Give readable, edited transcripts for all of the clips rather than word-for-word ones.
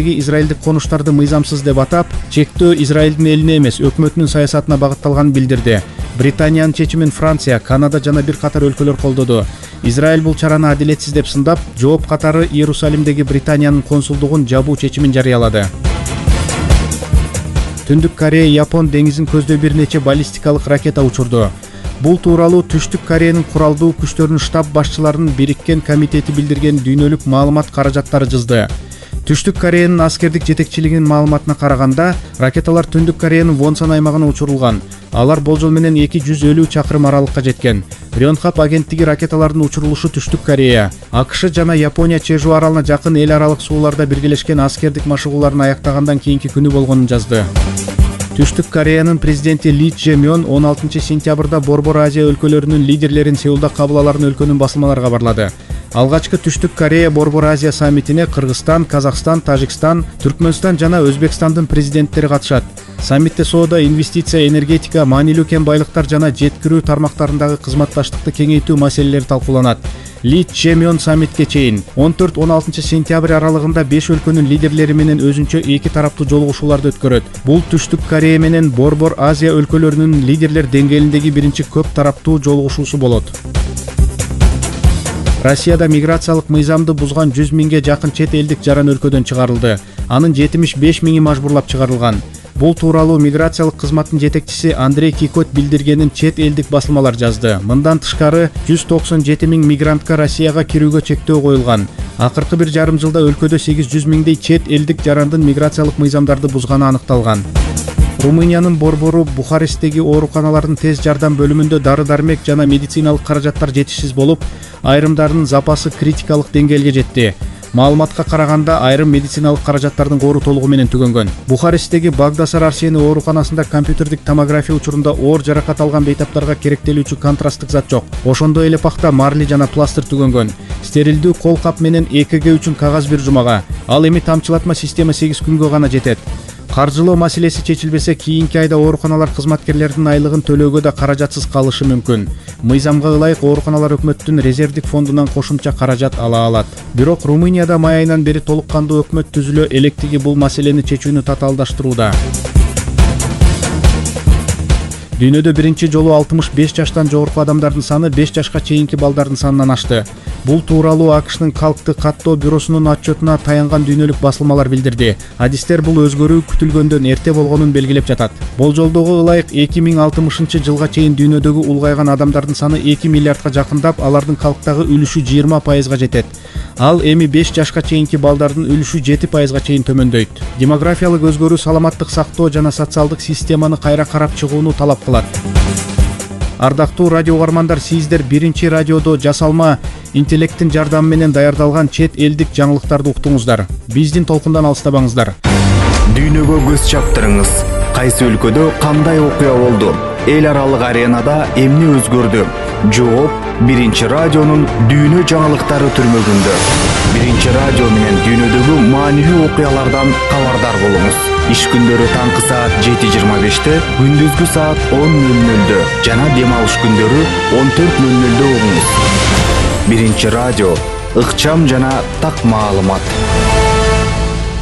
Израилдеги израилдик конуштарды мыйзамсыз деп атап, чектөө Израилдин элине эмес, өкмөтүнүн саясатына багытталганын билдирди. Британиянын чечимин Франция, Канада жана бир катар өлкөлөр колдоду. Израиль бул чараны адилетсиз деп сындап, жооп катары Иерусалимдеги Британиянын консулдугун жабуу чечимин жарыялады. Түндүк Корея Япон деңизин көздөй бир нече баллистикалык ракета учурду. Бул тууралуу Түштүк Кореянын куралдуу күчтөрүнүн штаб башчыларынын бириккен комитети билдирген дүйнөлүк маалымат каражаттары жазды. Түштүк Кореянын аскердик жетекчилигинин маалыматына караганда, ракеталар Түндүк Кореянын Вонсан аймагына учурулган. Алар болжол менен 250 чакырым аралыкка жеткен. Рёнхап агенттиги ракеталардын учурулушу Түштүк Корея, АКШ жана Япония Чежу аралына жакын эл аралык сууларда биргелешкен аскердик машыгууларын аяктагандан кийинки күнү болгонун жазды. Түштүк Кореянын президенти Ли Чже Мён 16 сентябрда Борбор Азия өлкөлөрүнүн лидерлерин Сеулда кабыл аларын өлкөнүн басылмалары кабарлады. Алгачкы Түштүк Корея Борбор Азия саммитине Кыргызстан, Казакстан, Тажикстан, Түркмөнстан жана Өзбекстандын президенттери катышат. Саммитте соода, инвестиция, энергетика, маанилүү кен байлыктар жана жеткирүү тармактарындагы кызматташтыкты кеңейтүү маселелери талкууланат. Ли Чже Мён саммитке чейин 14-16 сентябрь аралыгында 5 өлкөнүн лидерлери менен өзүнчө 2 тараптуу жолугушууларды өткөрөт. Бул Түштүк Корея менен Борбор Азия өлкөлөрүнүн лидерлер деңгээлиндеги биринчи көп тараптуу жолугушуусу болот. Россияда миграциялык мыйзамды бузган 100 миңге жакын чет элдик жаран өлкөдөн чыгарылды. Анын 75 миңи мажбурлап чыгарылган. Бул тууралуу миграциялык кызматтын жетекчиси Андрей Кикот билдиргенин чет элдик басылмалар жазды. Мындан тышкары 197 миң мигрантка Россияга кирүүгө чектөө коюлган. Акыркы бир жарым жылда өлкөдө 800 миңдей чет элдик жарандын миграциялык мыйзамдарды бузганы аныкталган. Румыниянын борбору Бухаресттеги ооруканалардын тез жардам бөлүмүндө дары-дармек жана медициналык каражаттар жетишсиз болуп, айрымдарынын запасы критикалык деңгээлге жетти. Маалыматка караганда, айрым медициналык каражаттардын кору толугу менен түгөнгөн. Бухаресттеги Багдасар Арсени ооруканасында компьютердик томография учурунда оор жаракат алган бейтаптарга керектелүүчү контрасттык зат жок. Ошондой эле пакта марли жана пластыр түгөнгөн. Стерилдүү кол кап менен ЭКГ үчүн кагаз бир жумага. Ал эми тамчылатма система 8 күнгө гана жетет. Каржылоо маселеси чечилбесе, кийинки айда ооруканалар кызматкерлердин айлыгын төлөөгө да каражатсыз калышы мүмкүн. Мыйзамга ылайык ооруканалар өкмөттүн резервдик фондунан кошумча каражат ала алат. Бирок Румынияда май айынан бери толук кандуу өкмөт түзүлө электиги бул маселени чечүүнү татаалдаштырууда. Дүйнөдө биринчи жолу 65 жаштан жогорку адамдардын саны 5 жашка чейинки балдардын санынан ашты. Бул тууралуу АКШнын калкты каттоо бюросунун отчетуна таянган дүйнөлүк басылмалар билдирди. Адистер бул өзгөрүү күтүлгөндөн эрте болгонун белгилеп жатат. Болжолдого ылайык 2060 жылга чейин дүйнөдөгү улгайган адамдардын саны 2 миллиардка жакындап, алардын калктагы үлүшү 20% жетет. Ал эми 5 жашка чейинки балдардын үлүшү 7% чейин төмөндөйт. Демографиялык өзгөрүү саламаттык сактоо жана социалдык системаны кайра карап чыгууну талап кылат. Ардактуу радио угармандар, сиздер биринчи радиодо жасалма интеллекттин жардамы менен даярдалган чет элдик жаңылыктарды уктуңуздар. Биздин толкундан алыстабаңыздар. Дүйнөгө көз чаптырыңыз. Кайсы өлкөдө кандай окуя болду? Эл аралык аренада эмне өзгөрдү? Жооп биринчи радионун дүйнө жаңылыктары түрмөгүндө. Биринчи радио менен дүйнөдөгү маанилүү окуялардан кабардар болуңуз. Иш күндөрү таңкы саат 7:25, күндүзгү саат 10:00 жана дем алыш күндөрү 14:00 угуңуз. Биринчи радио, ыкчам жана так маалымат.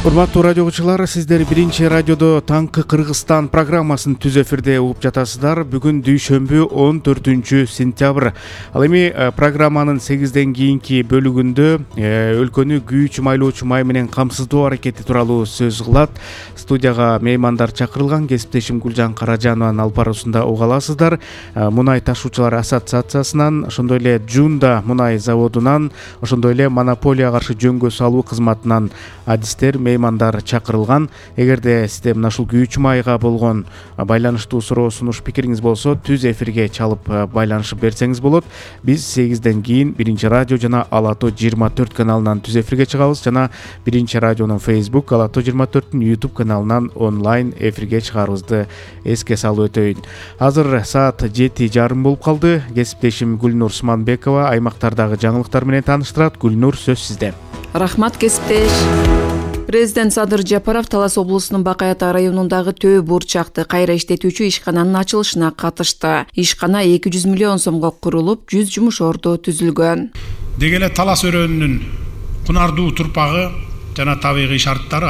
Урматтуу радио угуучулар, сиздер биринчи радиодо таңкы Кыргызстан программасын түз эфирде угуп жатасыздар. Бүгүн дүйшөмбү 14 сентябрь. Ал эми программанын 8ден кийинки бөлүгүндө өлкөнү күйүүчү майлоочу май менен камсыздоо аракети тууралуу сөз кылат. Студияга меймандар чакырылган. Кесиптешим Гүлжан Каражанованын алып баруусунда уга аласыздар. Мунай ташуучулар ассоциациясынан, ошондой эле Жунда мунай заводунан, ошондой эле монополия каршы жөнгө салуу кызматынан адистер, меймандар чакырылган. Эгерде сизде мына ушул күйүүчү майга болгон байланыштуу суроо, сунуш, пикириңиз болсо, түз эфирге чалып байланышып берсеңиз болот. Биз 8ден кийин биринчи радио жана Ала Тоо 24 каналынан түз эфирге чыгабыз жана биринчи радионун Facebook, Ала Тоо 24-түн YouTube каналынан онлайн эфирге чыгарыбызды эске салып өтөйүн. Азыр саат 7:30 болуп калды. Кесиптешим Гүлнур Суманбекова аймактардагы жаңылыктар менен тааныштырат. Гүлнур, сөз сизде. Рахмат, кесиптеш. Президент Садыр Жапаров Талас облусунун Бакай Ата районундагы Төө бурчакты кайра иштетүүчү ишкананын ачылышына катышты. Ишкана 200 миллион сомго курулуп, 100 жумуш орду түзүлгөн. Деги эле Талас өрөөнүнүн кунардуу турпагы жана табигый шарттары